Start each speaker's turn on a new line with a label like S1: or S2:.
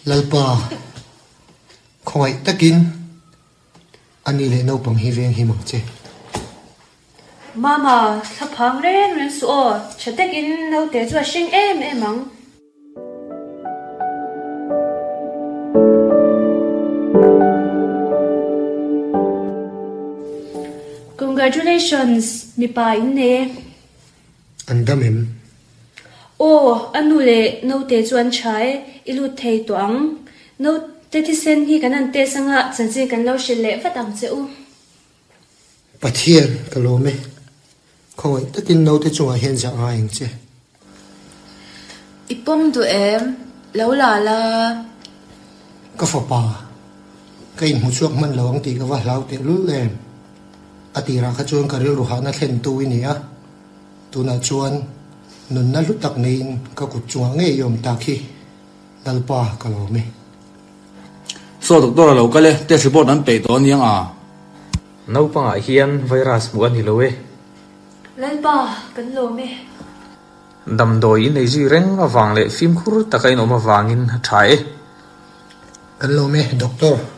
S1: Lalpa, khawngaih takin a ni leh naupang hi veng him ang che.
S2: Mama, thla phang reng reng suh aw, tha takin naute chu a hring em em ang. Congratulations, mipa in nei e.
S1: An dam em?
S2: Aw, a nu leh naute chu an tha e, i lut thei tawh ang. Naute thisen hi kan han test anga chanchin kan lo hrilh leh vat ang che u.
S1: Pathian, ka lawm e. Khawngaih takin naute chungah hian zah ngai ang che.
S3: I pawm duh em? Lo la la.
S1: Ka fapa, ka inhmu chhuak hman lo ang tih ka va hlau tehlul em? A tirah kha chuan ka rilru hahna thlentu i ni a, tunah chuan nunna hlu tak neiin ka kut chungah ngei i awm tak hi Lalpa ka lawm e.
S4: Saw doctor a lo kal e, test report an peih tawh aniang a.
S5: Naupangah hian virus hmuh a ni lo e.
S2: Lalpa, kan lawm e.
S5: Damdawi in ei zui reng avang leh fimkhur taka in awm avangin a tha e.
S1: Kan lawm e, Doctor.